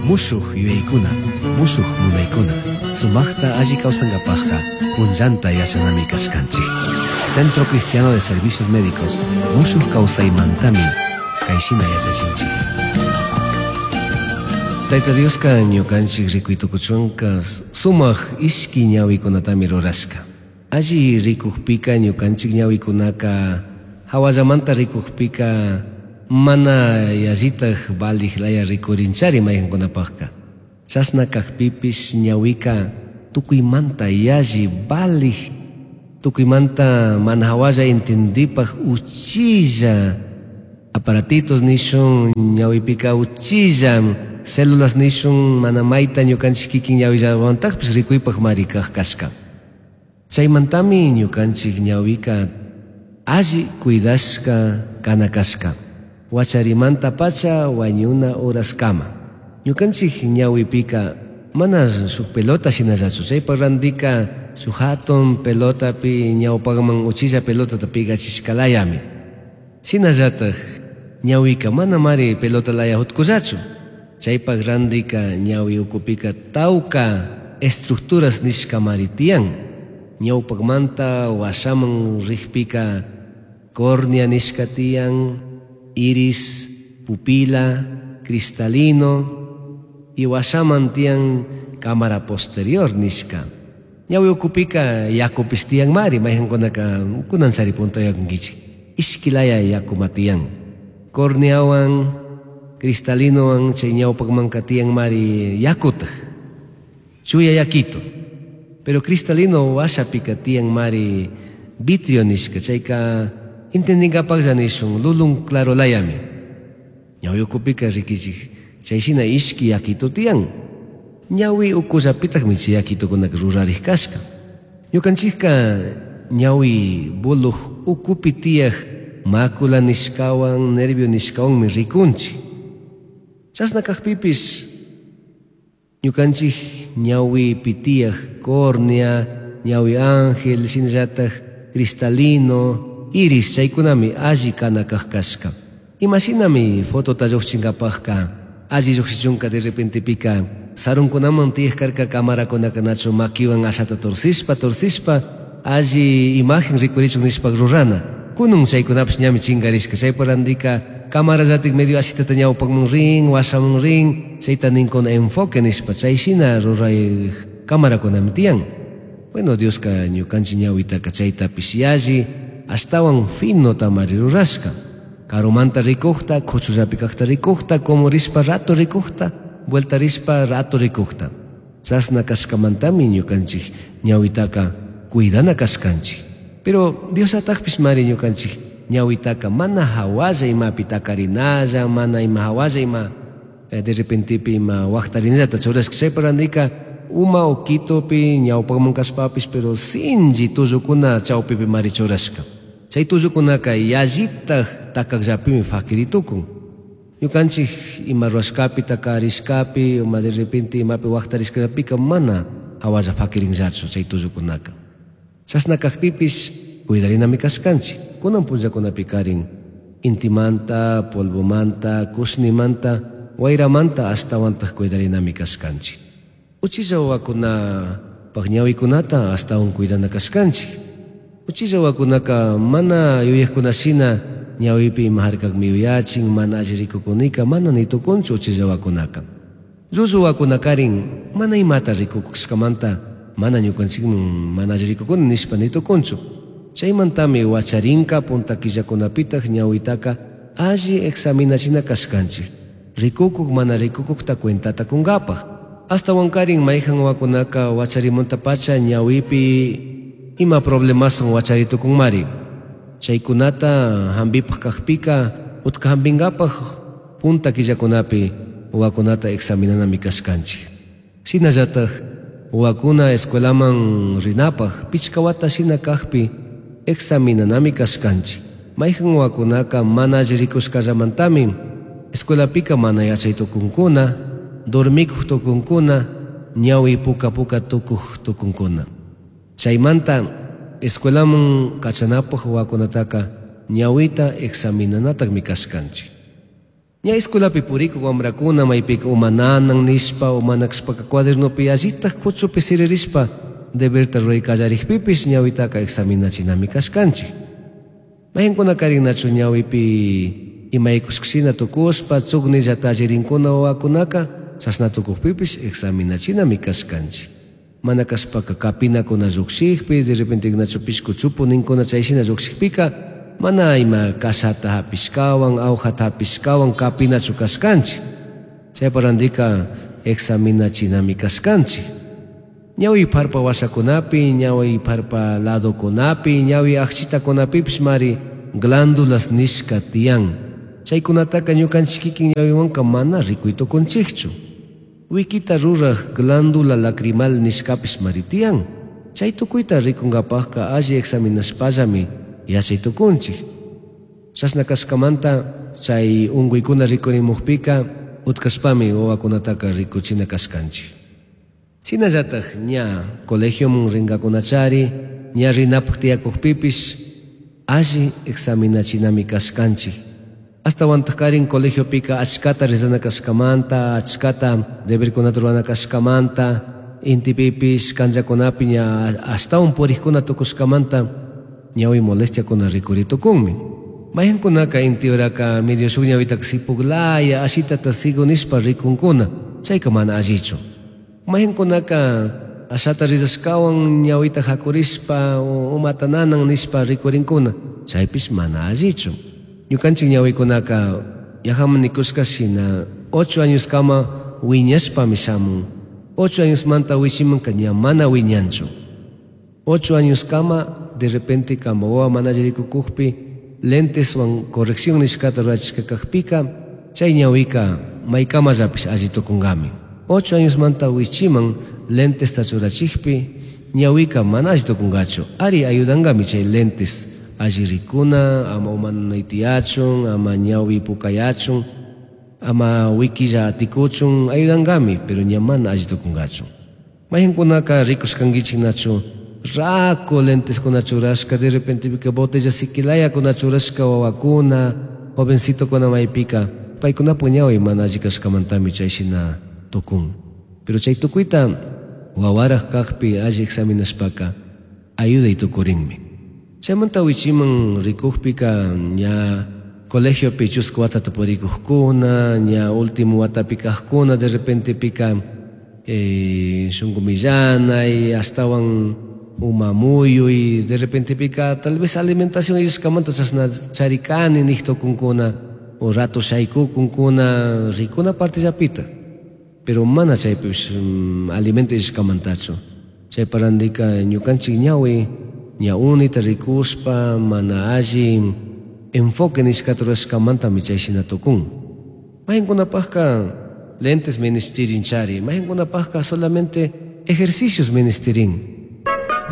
Mushuj yuyaykuna, mushuj munaykuna, sumajta alli kawsankapajka punllanta yachanami kashkanchik. Centro Cristiano de Servicios Médicos mushuj kawsaymantami kayshina yachachinchik. Tayta Dioska ñukanchik rikuytukuchunka sumaj ishki ñawikunatami rurashka. Alli rikukpika ñukanchik ñawikunaka hawallamanta rikukpika mana yallitaj valij laya rikurinchari mayqankunapajka. Chashna kajpipish ñawika tukuymanta yalli valij, tukuymanta mana hawalla entendipaj uchilla aparatitos nishun ñawipika uchilla células nishun mana mayta ñukanchik kikin ñawillawantajpish rikuypaj mari kaj kashka. Chaymantami ñukanchik ñawika alli cuidashka kana kashka. Wacharimanta pacha wañuna horaskama. Ñukanchik ñawipika mana shuk pelota shinallachu. Chaypa randika shuk hatun pelotapi ñawpakman uchilla pelotata pigachishkalayami. Shinallataj ñawika mana mari pelota laya hutkullachu. Chaypak randika ñawi ukupika tawka estructuras nishka mari tiyan. Ñawpakmanta washaman rikpika córnea nishka tiyan, iris, pupila, cristalino y washaman tiyan cámara posterior nishka. Ñawi ukupika yakupis tiyan mari, mayqankunaka kunan chari punta yakunkichik. Ishkilaya yakuma tiyan. Corneawan, cristalinowan chay ñawpakmanka tiyan mari yakutaj. Chuya yakito. Pero cristalino washapika tiyan mari vitrio nishka, chayka entendinkapaklla nishun lulun claro layami. Ñawi ukupika rikichik chayshina ishki yakito tiyan. Ñawi ukullapitakmi chay yakitukunaka rurarij kashka. Ñukanchikka ñawi buluj ukupi tiyaj mácula nishkawan, nervio nishkawanmi rikunchik. Chashna kajpipish ñukanchik ñawipi tiyaj córnea, ñawi ángel, shinallataj cristalino, iris chaykunami alli kana kaj kashka. Imashinami fotota lluqchinkapajka alli lluqshichunka de repentepika sarunkunaman tiyaj karka camarakunaka nachu makiwan ashata torcishpa torcishpa alli imagen rikurichun nishpa rurana. Kunun chaykunapish ñami chinkarishka. Chaypa randika camarallatik medio ashitata ñawpakman rin, washaman rin, chayta ninkuna enfoque nishpa chayshina ruray camarakunami tiyan. Bueno, Dioska ñukanchik ñawitaka chaytapish yalli ashtawan fino tamari rurashka. Karumanta rikujta, kuchullapi kajta rikujta, como rishpa rato rikujta, vuelta rishpa rato rikujta. Chashna kashkamantami ñukanchik ñawitaka cuidana kashkanchik. Pero Dios atajpish mari ñukanchik ñawitaka mana hawalla imapi takarinalla, mana ima hawalla ima de repentepi ima waqtarinallata churashka. Chaypa randika uma ukitupi ñawpakman kashpapish, pero sinchi tullukuna chawpipi mari churashka. Chay tullukunaka yallitaj takakllapimi fakiritukun. Ñukanchik ima ruwashkapi takarishkapi, ima de repente imapi waqtarishkapika mana hawalla fakirinllachu chay tullukunaka. Chashna kajpipish cuidarinami kashkanchik. Kunan punllakunapi karin intimanta, polvomanta, kushnimanta, wayramanta ashtawantaj cuidarinami kashkanchik. Uchilla wawakunapaj ñawikunata ashtawan cuidana kashkanchik. Uchilla wawakunaka mana yuyajkunashina ñawipi ima harkakmi yuyachin, mana alli rikukunika, mana nitukunchu uchilla wawakunaka. Llullu wawakunakarin mana imata rikukushkamanta mana ñukanchikman mana alli rikukuni nishpa nitukunchu. Chaymantami wacharinka punta killakunapitaj ñawitaka alli examinachina kashkanchik. Rikukuk mana rikukukta cuentata kunkapaj. Ashtawankarin mayqan wawakunaka wacharimuntapacha ñawipi ima problemasun wacharitukunmari. Chaykunata hampipaj kajpika utka hampinkapaj punta killakunapi wawakunata examinanami kashkanchik. Shinallataj wawakuna escuelaman rinapaj pichka wata shina kajpi examinanami kashkanchik. Mayqan wawakunaka mana alli rikushkallamantami escuelapika mana yachay tukunkuna, dormikuq tukunkuna, ñawi puka puka tukuq tukunkuna. Chaymanta escuelaman kachanapaj wawakunataka ñawita examinanataqmi kashkanchik. Ña escuelapi purikuq wamrakuna maypika uma nanan nishpa o mana kashpaka cuadernopi allitaj kuchupi siririshpa deberta ruray kallarikpipish ñawitaka examinachinami kashkanchik. Mayqinkunakarin nachu ñawipi imaykushkashina tukushpa chuknillata allirinkuna wawakunaka chashna tukukpipish examinachinami kashkanchik. Mana kashpaka kapinakuna llukshikpi de repente nachu pishku chupu ninkuna chayshina llukshikpika mana ima kashata hapishkawan awjata hapishkawan kapinachu kashkanchik. Chaypa randika examinachinami kashkanchik. Ñawi pharpa washakunapi, ñawi pharpa ladokunapi, ñawi akchitakunapipish mari glándulas nishka tiyan. Chaykunataka ñukanchik kikin ñawiwanka mana rikuy tukunchikchu. Wikita ruraj glándula lacrimal nishkapish mari tiyan. Chay tukuyta rikunkapajka alli examinashpallami yachay tukunchik. Chashna kashkamanta chay unkuykuna rikurimukpika utkashpami wawakunataka rikuchina kashkanchik. Shinallataj ña colegioman rinkakunachari, ña rinapaj tiyakukpipish alli examinachinami kashkanchik. Ashtawantaj colegiopika achkata rezana kashkamanta, achkata deberkunata rurana kashkamanta, intipipish kanllakunapi ña ashtawan purikkuna tukushkamanta ñawi molestiakuna rikuri tukunmi. Mayqinkunaka inti uraka medio shuk ñawitaka sipuklaya ashitata sigo nishpa rikunkuna, chayka mana allichu. Mayqinkunaka ashata rizashkawan ñawita hakurishpa umata nanan nishpa rikurinkuna, chaypish mana allichu. Ñukanchik ñawikunaka yajaman nikushka shina 8 años kama wiñashpami shamun. 8 años manta wichimanka ña mana wiñanchu. 8 años kama de repente kama wawa mana alli rikukukpi lenteswan corrección nishkata rurachishka kakpika chay ñawika maykamallapish alli tukunkami. 8 años manta wichiman lentesta churachikpi ñawika mana alli tukunkachu. Ari ayudankami chay lentes alli rikuna, ama uma tiyachun, ama ñawi pukayachun, ama wikilla atikuchun ayudankami, pero ña mana alli tukunkachu. Mayqinkunaka rikushkankichik nachu raku lenteskuna churashka, de repente pika botella sikilayakuna churashka wawakuna, jovencitokuna maypika, paykunapak ñawi mana alli kashkamantami chayshina tukun. Pero chay tukuyta wawaraj kakpi alli examinashpaka ayuday tukurinmi. Chaymanta wichiman rikukpika ña colegiopi chusku watata purikukkuna, ña último watapi kajkuna, de repente pika shunku millanay, ashtawan uma muyuy, de repente pika tal vez alimentación illashkamanta chashna charikani nik tukunkuna, o rato shaykukunkuna, rikuna partellapita. Pero mana chaypish alimento illashkamantachu. Chaypa randika ñukanchik ñawi, ña unita rikushpa mana alli enfoque nishkata rurashkamantami chayshina tukun. Mayqinkunapajka lentes ministirin chari, mayqinkunapajka solamente ejercicios ministirin.